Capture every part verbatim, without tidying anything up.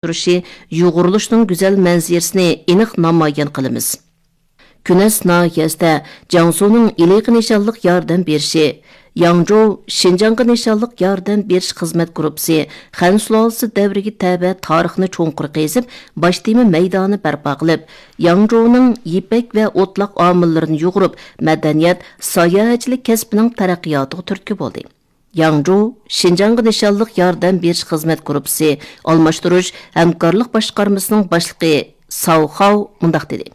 تۇرۇشى، يۇغۇرۇلۇشنىڭ گۈزەل مەنزىرىسىنى ئېنىق نامايان قىلىمىز. كۈنەس ناھىيەسىدە جياڭسۇنىڭ ھېلىقى نىشانلىق ياردەم بېرىشى، ياڭجۇ شىنجاڭغا نىشانلىق ياردەم بېرىش خىزمەت گۇرۇپپىسى خەن سۇلالىسى دەۋرىگە تەۋە تارىخنى چوڭقۇر قېزىپ، باش تېما مەيدانى بەرپا قىلىپ، ياڭجۇنىڭ يىپەك ۋە ئوتلاق ئامىللىرىنى يۇغۇرۇپ، مەدەنىيەت، ساياھەتچىلىك كەسپىنىڭ تەرەققىياتىغا تۈرتكە بولدى. ياڭجۇ شىنجاڭغا نىشانلىق ياردەم بېرىش خىزمەت گۇرۇپپىسى ئالماشتۇرۇش ھەمكارلىق باشقارمىسىنىڭ باشلىقى ساۋ خاۋ مۇنداق دېدى: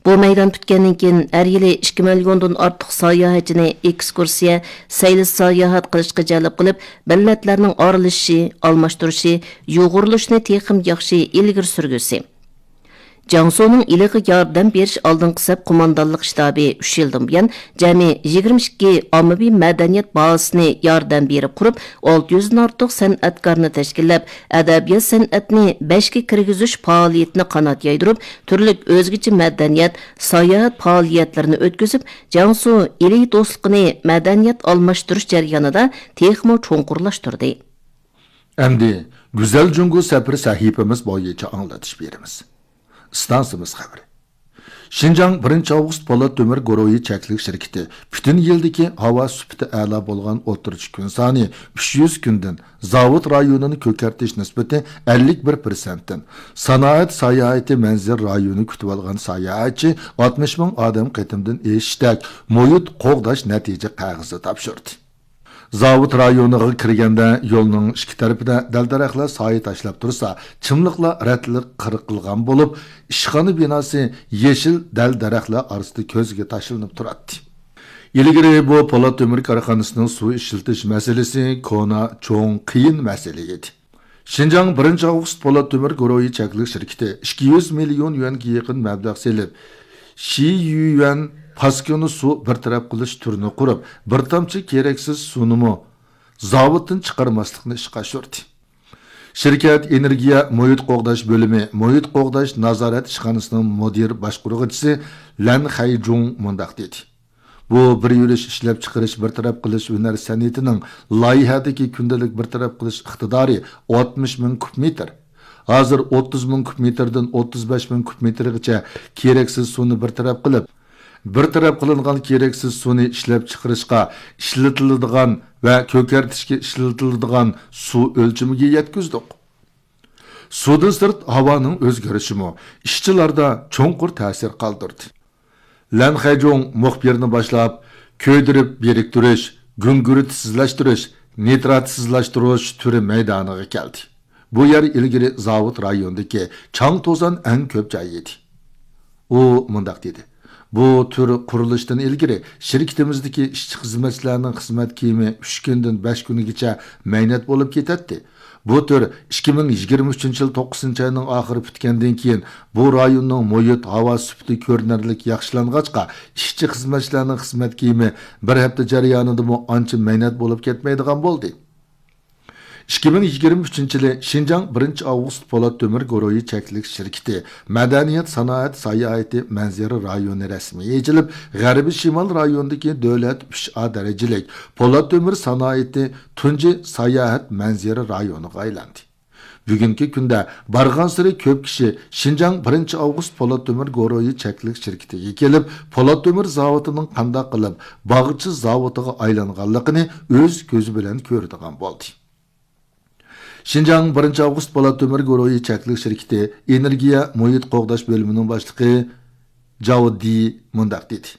بۇ مەيدان پۈتكەندىن كېيىن، ھەر يىلى ئىككى مىليوندىن ئارتۇق ساياھەتچىنى ئېكسكۇرسىيە، سەيلە ساياھەت قىلىشقا جەلپ قىلىپ، مىللەتلەرنىڭ ئارىلىشىشى، ئالماشتۇرۇشى، يۇغۇرۇلۇشىنى تېخىمۇ ياخشى ئىلگىرى سۈرگۈسى. جياڭسۇنىڭ ئىلىغا ياردەم بېرىش ئالدىنقى سەپ قوماندانلىق شتابى ئۈچ يىلدىن بۇيان جەمئىي يىگىرمە ئىككى ئاممىۋى مەدەنىيەت بازىسىنى ياردەم بېرىپ قۇرۇپ، ئالتە يۈزدىن ئارتۇق سەنئەتكارنى تەشكىللەپ، ئەدەبىيات سەنئەتنى بەشكە كىرگۈزۈش پائالىيىتىنى قانات يايدۇرۇپ، تۈرلۈك ئۆزگىچە مەدەنىيەت، ساياھەت پائالىيەتلىرىنى ئۆتكۈزۈپ، جياڭسۇ ئىلى دوستلۇقىنى مەدەنىيەت ئالماشتۇرۇش جەريانىدا تېخىمۇ چوڭقۇرلاشتۇردى. ئەمدى گۈزەل جۇڭگو سەپىرى سەھىپىمىز بويىچە ئاڭلىتىش بېرىمىز. ئىستانسىمىز خەۋىرى. شىنجاڭ بىرىنچى ئاۋغۇست پولات تۆمۈر گۇرۇھى چەكلىك شىركىتى پۈتۈن يىلدىكى ھاۋا سۈپىتى ئەلا بولغان ئوتتۇرىچە كۈن سانى ئۈچ يۈز كۈندىن زاۋۇت رايونىنى كۆكەرتىش نىسبىتى ئەللىك بىر پىرسەنتتىن، سانائەت ساياھىتى مەنزىرە رايونى كۈتۈۋالغان ساياھەتچى ئاتمىش مىڭ ئادەم قېتىمدىن ئېشىشتەك مۇھىت قوغداش نەتىجە قەغىزى تاپشۇردى. زاۋۇت رايونىغا كىرگەندە يولنىڭ ئىككى تەرىپىدە دەل-دەرەخلەر سايە تاشلاپ تۇرسا، چىملىقلار رەتلىك قىرقىلغان بولۇپ، ئىشخانا بىناسى يېشىل دەل-دەرەخلەر ئارىسىدا كۆزگە تاشلىنىپ تۇراتتى. ئىلگىرى بۇ پولات تۆمۈر كارخانىسىنىڭ سۇ ئىشلىتىش مەسىلىسى كونا، چوڭ، قىيىن مەسىلە ئىدى. شىنجاڭ بىرىنچى ئاۋغۇست پولات تۆمۈر گۇرۇھى چەكلىك شىركىتى ئىككى يۈز مىليون يۈەنگە يېقىن مەبلەغ سېلىپ، شىيۈەن پاسكىنا سۇ بىر تەرەپ قىلىش تۈرىنى قۇرۇپ، بىر تامچە كېرەكسىز سۇنىمۇ زاۋۇتتىن چىقارماسلىقنى ئىشقا ئاشۇردى. شىركەت ئېنېرگىيە مۇھىت قوغداش بۆلۈمى مۇھىت قوغداش نازارەت ئىشخانىسىنىڭ مۇدىر باشقۇرغۇچىسى لەن خەيجۇڭ مۇنداق دېدى: بۇ بىر يۈرۈش ئىشلەپچىقىرىش بىر تەرەپ قىلىش ھۈنەر سەنئىتىنىڭ لايىھەدىكى كۈندىلىك بىر تەرەپ قىلىش ئىقتىدارى ئاتمىش مىڭ كۇب مېتىر. ھازىر ئوتتۇز مىڭ كۇب مېتىردىن ئوتتۇز بەش مىڭ كۇب مېتىرغىچە كېرەكسىز سۇنى بىر تەرەپ قىلىپ، بىر تەرەپ قىلىنغان كېرەكسىز سۇنى ئىشلەپچىقىرىشقا ئىشلىتىلىدىغان ۋە كۆكەرتىشكە ئىشلىتىلىدىغان سۇ ئۆلچىمىگە يەتكۈزدۇق. سۇدىن سىرت ھاۋانىڭ ئۆزگىرىشىمۇ ئىشچىلاردا چوڭقۇر تەسىر قالدۇردى. لەن خەيجۇڭ مۇخبىرنى باشلاپ، كۆيدۈرۈپ بىرىكتۈرۈش، گۈڭگۈرتسىزلەشتۈرۈش، نىتراتسىزلاشتۇرۇش تۈرى مەيدانىغا كەلدى. بۇ يەر ئىلگىرى زاۋۇت رايونىدىكى چاڭ توزان ئەڭ كۆپ جاي ئىدى. ئۇ مۇنداق دېدى: بۇ تۈر قۇرۇلۇشتىن ئىلگىرى شىركىتىمىزدىكى ئىشچى خىزمەتچىلەرنىڭ خىزمەت كىيىمى ئۈچ كۈندىن بەش كۈنگىچە مەينەت بولۇپ كېتەتتى. بۇ تۈر ئىككى مىڭ يىگىرمە ئۈچىنچى يىل توققۇزىنچى ئاينىڭ ئاخىرى پۈتكەندىن كېيىن، بۇ رايوننىڭ مۇھىت ھاۋا سۈپىتى كۆرۈنەرلىك ياخشىلانغاچقا، ئىشچى خىزمەتچىلەرنىڭ خىزمەت كىيىمى بىر ھەپتە جەريانىدىمۇ ئانچە مەينەت بولۇپ كەتمەيدىغان بولدى. ئىككى مىڭ يىگىرمە ئۈچىنچى يىلى شىنجاڭ بىرىنچى ئاۋغۇست پولات تۆمۈر گۇرۇھى چەكلىك شىركىتى مەدەنىيەت، سانائەت، ساياھىتى مەنزىرە رايونى رەسمىي ئېچىلىپ، غەربىي شىمال رايونىدىكى دۆلەت ئۈچ ئا دەرىجىلىك پولات تۆمۈر سانائىتى تۇنجى ساياھەت مەنزىرە رايونىغا ئايلاندى. بۈگۈنكى كۈندە بارغانسېرى كۆپ كىشى شىنجاڭ بىرىنچى ئاۋغۇست پولات تۆمۈر گۇرۇھى چەكلىك شىركىتىگە كېلىپ، پولات تۆمۈر زاۋۇتىنىڭ قانداق قىلىپ باغچە زاۋۇتىغا ئايلانغانلىقىنى ئۆز كۆزى بىلەن كۆرىدىغان بولدى. شىنجاڭ بىرىنچى ئاۋغۇست پولات تۆمۈر گۇرۇھى چەكلىك شىركىتى ئېنېرگىيە مۇھىت قوغداش بۆلۈمىنىڭ باشلىقى جاۋ دى مۇنداق دېدى: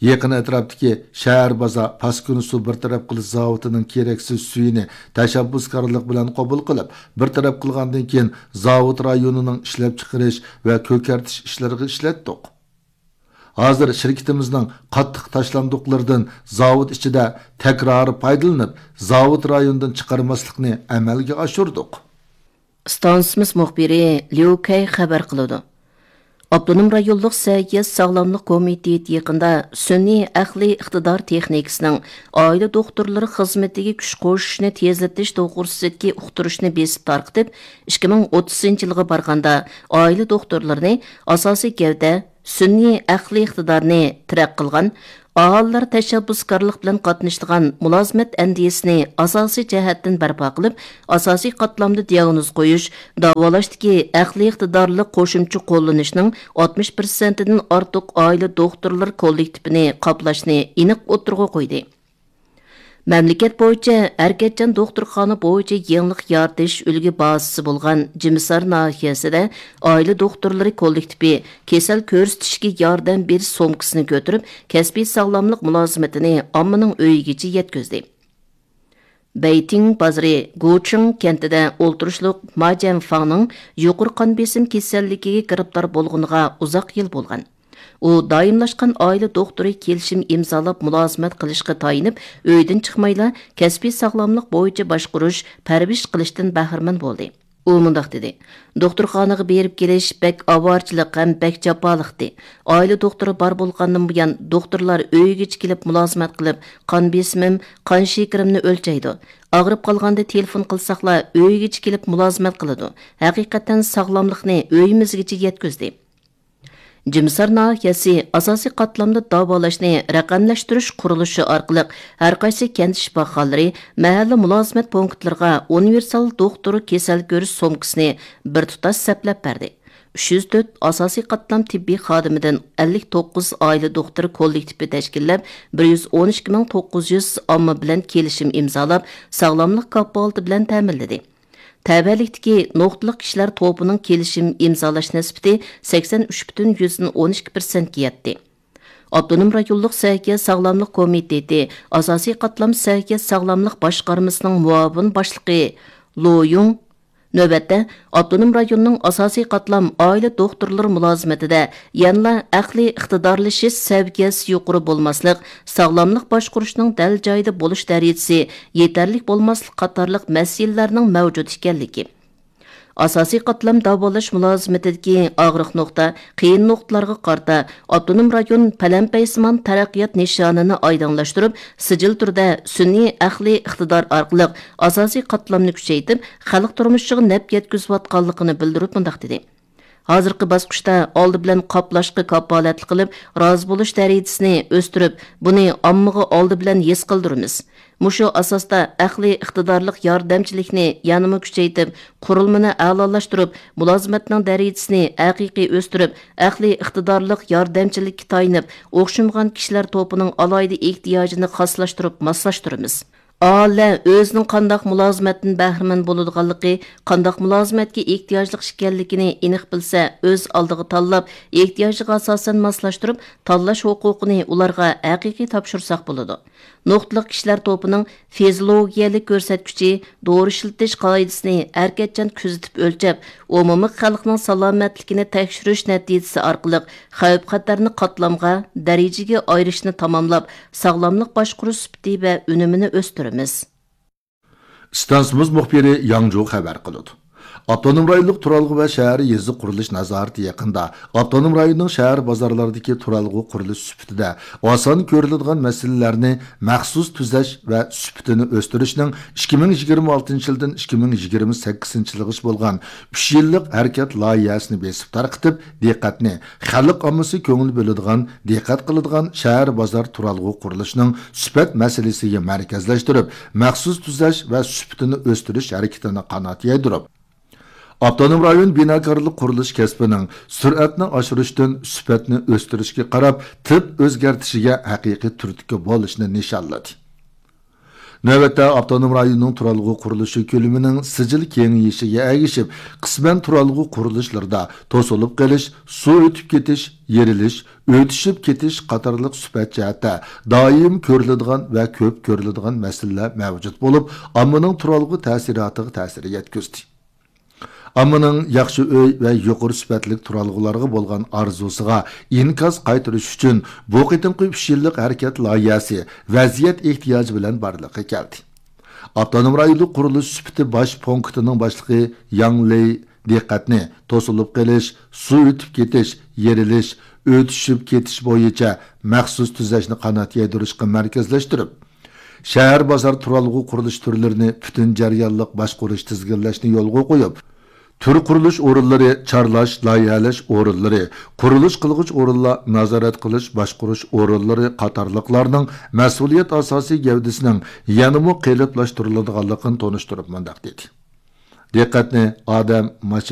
يېقىن ئەتراپتىكى شەھەر بازار پاسكىنا سۇ بىر تەرەپ قىلىش زاۋۇتىنىڭ كېرەكسىز سۈيىنى تەشەببۇسكارلىق بىلەن قوبۇل قىلىپ، بىر تەرەپ قىلغاندىن كېيىن، زاۋۇت رايونىنىڭ ئىشلەپچىقىرىش ۋە كۆكەرتىش ئىشلىرىغا ئىشلەتتۇق. ھازىر شىركىتىمىزنىڭ قاتتىق تاشلاندۇقلىرىدىن زاۋۇت ئىچىدە تەكرارىي پايدىلىنىپ، زاۋۇت رايونىدىن چىقارماسلىقنى ئەمەلگە ئاشۇردۇق. ئىستانسىمىز مۇخبىرى ليۇ كەي خەۋەر قىلىدۇ. ئاپتونوم رايونلۇق سەھىيە ساغلاملىق كومىتېتى يېقىندا سۈنئىي ئەقلىي ئىقتىدار تېخنىكىسىنىڭ ئائىلە دوختۇرلىرى خىزمىتىگە كۈچ قوشۇشنى تېزلىتىش توغرىسىدىكى ئۇقتۇرۇشنى بېسىپ تارقىتىپ، ئىككى مىڭ ئوتتۇزىنچى يىلغا بارغاندا ئائىلە دوختۇرلىرىنى ئاساسىي گەۋدە، سۈنئىي ئەقلىي ئىقتىدارنى تىرەك قىلغان ئاھالىلەر تەشەببۇسكارلىق بىلەن قاتنىشىدىغان مۇلازىمەت ئەندىزىسىنى ئاساسىي جەھەتتىن بەرپا قىلىپ، ئاساسىي قاتلامدا دىياگنوز قويۇش، داۋالاشتىكى ئەقلىي ئىقتىدارلىق قوشۇمچە قوللىنىشنىڭ ئاتمىش پىرسەنتىدىن ئارتۇق ئائىلە دوختۇرلىرى كوللېكتىپىنى قاپلاشنى ئېنىق ئوتتۇرىغا قويدى. مەملىكەت بويىچە ھەرىكەتچان دوختۇرخانا بويىچە يېڭىلىق يارىتىش ئۈلگە بازىسى بولغان جىمىسار ناھىيەسىدە ئائىلە دوختۇرلىرى كوللېكتىپى كېسەل كۆرسىتىشكە ياردەم بېرىش سومكىسىنى كۆتۈرۈپ، كەسپىي ساغلاملىق مۇلازىمىتىنى ئاممىنىڭ ئۆيىگىچە يەتكۈزدى. بېيتىڭ بازىرى گۇچىڭ كەنتىدە ئولتۇرۇشلۇق ما جيەنفاڭنىڭ يۇقىرى قان بېسىم كېسەللىكىگە گىرىپتار بولغىنىغا ئۇزاق يىل بولغان. ئۇ دائىملاشقان ئائىلە دوختۇرى كېلىشىم ئىمزالاپ مۇلازىمەت قىلىشقا تايىنىپ، ئۆيدىن چىقمايلا كەسپىي ساغلاملىق بويىچە باشقۇرۇش، پەرۋىش قىلىشتىن بەھرىمەن بولدى. ئۇ مۇنداق دېدى: دوختۇرخانىغا بېرىپ كېلىش بەك ئاۋارىچىلىق ھەم بەك جاپالىقتى. ئائىلە دوختۇرى بار بولغاندىن بۇيان، دوختۇرلار ئۆيىگىچە كېلىپ مۇلازىمەت قىلىپ، قان بېسىمىم، قان شېكىرىمنى ئۆلچەيدۇ. ئاغرىپ قالغاندا تېلېفون قىلساقلا، ئۆيىگىچە كېلىپ مۇلازىمەت قىلىدۇ. ھەقىقەتەن ساغلاملىقنى ئۆيىمىزگىچە يەتكۈزدى. جىمىسار ناھىيەسى ئاساسىي قاتلامدا داۋالاشنى رەقەملەشتۈرۈش قۇرۇلۇشى ئارقىلىق ھەرقايسى كەنت شىپاخانىلىرى، مەھەللە مۇلازىمەت پونكىتلىرىغا ئۇنىۋېرسال دوختۇر كېسەل كۆرۈش سومكىسىنى بىر تۇتاش سەپلەپ بەردى. ئۈچ يۈز تۆت ئاساسىي قاتلام تېببىي خادىمىدىن ئەللىك توققۇز ئائىلە دوختۇرى كوللېكتىپى تەشكىللەپ، بىر يۈز ئون ئىككى مىڭ توققۇز يۈز ئامما بىلەن كېلىشىم ئىمزالاپ، ساغلاملىق كاپالىتى بىلەن تەمىنلىدى. تەۋەلىكتىكى نۇقتىلىق كىشىلەر توپىنىڭ كېلىشىم ئىمزالاش نىسبىتى سەكسەن ئۈچ پۈتۈن يۈزدىن ئون ئىككى پىرسەنتكە يەتتى. ئاپتونوم رايونلۇق سەھىيە ساغلاملىق كومىتېتى ئاساسىي قاتلام سەھىيە ساغلاملىق باشقارمىسىنىڭ مۇئاۋىن باشلىقى لو يۇڭ نۆۋەتتە ئاپتونوم رايوننىڭ ئاساسىي قاتلام ئائىلە دوختۇرلىرى مۇلازىمىتىدە يەنىلا ئەقلىي ئىقتىدارلىشىش سەۋىيەسى يۇقىرى بولماسلىق، ساغلاملىق باشقۇرۇشنىڭ دەل جايىدا بولۇش دەرىجىسى يېتەرلىك بولماسلىق قاتارلىق مەسىلىلەرنىڭ مەۋجۇت ئىكەنلىكى، ئاساسىي قاتلام داۋالاش مۇلازىمىتىدىكى ئاغرىق نۇقتا، قىيىن نۇقتىلارغا قارىتا ئاپتونوم رايون پەلەمپەيسىمان تەرەققىيات نىشانىنى ئايدىڭلاشتۇرۇپ، سىجىل تۈردە سۈنئىي ئەقلىي ئىقتىدار ئارقىلىق ئاساسىي قاتلامنى كۈچەيتىپ، خەلق تۇرمۇشىغا نەپ يەتكۈزۈۋاتقانلىقىنى بىلدۈرۈپ مۇنداق دېدى: ھازىرقى باسقۇچتا ئالدى بىلەن قاپلاشقا كاپالەتلىك قىلىپ، رازى بولۇش دەرىجىسىنى ئۆستۈرۈپ، بۇنى ئاممىغا ئالدى بىلەن ھېس قىلدۇرىمىز. مۇشۇ ئاساستا ئەقلىي ئىقتىدارلىق ياردەمچىلىكنى يەنىمۇ كۈچەيتىپ، قۇرۇلمىنى ئەلالاشتۇرۇپ، مۇلازىمەتنىڭ دەرىجىسىنى ھەقىقىي ئۆستۈرۈپ، ئەقلىي ئىقتىدارلىق ياردەمچىلىككە تايىنىپ، ئوخشىمىغان كىشىلەر توپىنىڭ ئالاھىدە ئېھتىياجىنى خاسلاشتۇرۇپ ماسلاشتۇرىمىز. ئاھالىلەر ئۆزىنىڭ قانداق مۇلازىمەتتىن بەھرىمەن بولىدىغانلىقى، قانداق مۇلازىمەتكە ئېھتىياجلىق ئىكەنلىكىنى ئېنىق بىلسە، ئۆز ئالدىغا تاللاپ، ئېھتىياجىغا ئاساسەن ماسلاشتۇرۇپ، تاللاش ھوقۇقىنى ئۇلارغا ھەقىقىي تاپشۇرساق بولىدۇ. نۇقتىلىق كىشىلەر توپىنىڭ فىزىولوگىيەلىك كۆرسەتكۈچى، دورا ئىشلىتىش قائىدىسىنى ھەرىكەتچان كۆزىتىپ ئۆلچەپ، ئومۇمىي خەلقنىڭ سالامەتلىكىنى تەكشۈرۈش نەتىجىسى ئارقىلىق خەۋپ-خەتەرنى قاتلامغا، دەرىجىگە ئايرىشنى تاماملاپ، ساغلاملىق باشقۇرۇش سۈپىتى ۋە ئۈنۈمىنى ئۆستۈرىمىز. ئىستانسىمىز مۇخبىرى ياڭجۇ خەۋەر قىلىدۇ. ئاپتونوم رايونلۇق تۇرالغۇ ۋە شەھەر يېزا قۇرۇلۇش نازارىتى يېقىندا ئاپتونوم رايوننىڭ شەھەر بازارلىرىدىكى تۇرالغۇ قۇرۇلۇش سۈپىتىدە ئاسان كۆرۈلىدىغان مەسىلىلەرنى مەخسۇس تۈزەش ۋە سۈپىتىنى ئۆستۈرۈشنىڭ ئىككى مىڭ يىگىرمە ئالتىنچى يىلدىن ئىككى مىڭ يىگىرمە سەككىزىنچى يىلغىچە بولغان ئۈچ يىللىق ھەرىكەت لايىھەسىنى بېسىپ تارقىتىپ، دىققەتنى خەلق ئاممىسى كۆڭۈل بۆلىدىغان، دىققەت قىلىدىغان شەھەر بازار تۇرالغۇ قۇرۇلۇشىنىڭ سۈپەت مەسىلىسىگە مەركەزلەشتۈرۈپ، مەخسۇس تۈزەش ۋە سۈپىتىنى ئۆستۈرۈش ھەرىكىتىنى قانات يايدۇرۇپ، ئاپتونوم رايون بىناكارلىق قۇرۇلۇش كەسپىنىڭ سۈرئەتنى ئاشۇرۇشتىن سۈپەتنى ئۆستۈرۈشكە قاراپ تىپ ئۆزگەرتىشىگە ھەقىقىي تۈرتكە بولۇشنى نىشانلىدى. نۆۋەتتە ئاپتونوم رايوننىڭ تۇرالغۇ قۇرۇلۇشى كۆلىمىنىڭ سىجىل كېڭىيىشىگە ئەگىشىپ، قىسمەن تۇرالغۇ قۇرۇلۇشلىرىدا توسۇلۇپ قېلىش، سۇ ئۆتۈپ كېتىش، يېرىلىش، ئۆتۈشۈپ كېتىش قاتارلىق سۈپەت جەھەتتە دائىم كۆرۈلىدىغان ۋە كۆپ كۆرۈلىدىغان مەسىلىلەر مەۋجۇت بولۇپ، ئاممىنىڭ تۇرالغۇ تەسىراتىغا تەسىر يەتكۈزدى. ئاممىنىڭ ياخشى ئۆي ۋە يۇقىرى سۈپەتلىك تۇرالغۇلارغا بولغان ئارزۇسىغا ئىنكاس قايتۇرۇش ئۈچۈن، بۇ قېتىمقى ئۈچ يىللىق ھەرىكەت لايىھەسى ۋەزىيەت ئېھتىياجى بىلەن بارلىققا كەلدى. ئاپتونوم رايونلۇق قۇرۇلۇش سۈپىتى باش پونكىتىنىڭ باشلىقى ياڭ لېي دىققەتنى توسۇلۇپ قېلىش، سۇ ئۆتۈپ كېتىش، يېرىلىش، ئۆتۈشۈپ كېتىش بويىچە مەخسۇس تۈزەشنى قانات يايدۇرۇشقا مەركەزلەشتۈرۈپ، شەھەر بازار تۇرالغۇ قۇرۇلۇش تۈرلىرىنى پۈتۈن جەريانلىق باشقۇرۇش، تىزگىنلەشنى يولغا قويۇپ، تۈر قۇرۇلۇش ئورۇنلىرى، چارلاش، لايىھەلەش ئورۇنلىرى، قۇرۇلۇش قىلغۇچ ئورۇنلار، نازارەت قىلىش، باشقۇرۇش ئورۇنلىرى قاتارلىقلارنىڭ مەسئۇلىيەت ئاساسىي گەۋدىسىنىڭ يەنىمۇ قېلىپلاشتۇرۇلىدىغانلىقىنى تونۇشتۇرۇپ مۇنداق دېدى: دىققەتنى ئادەم، ماشىنا،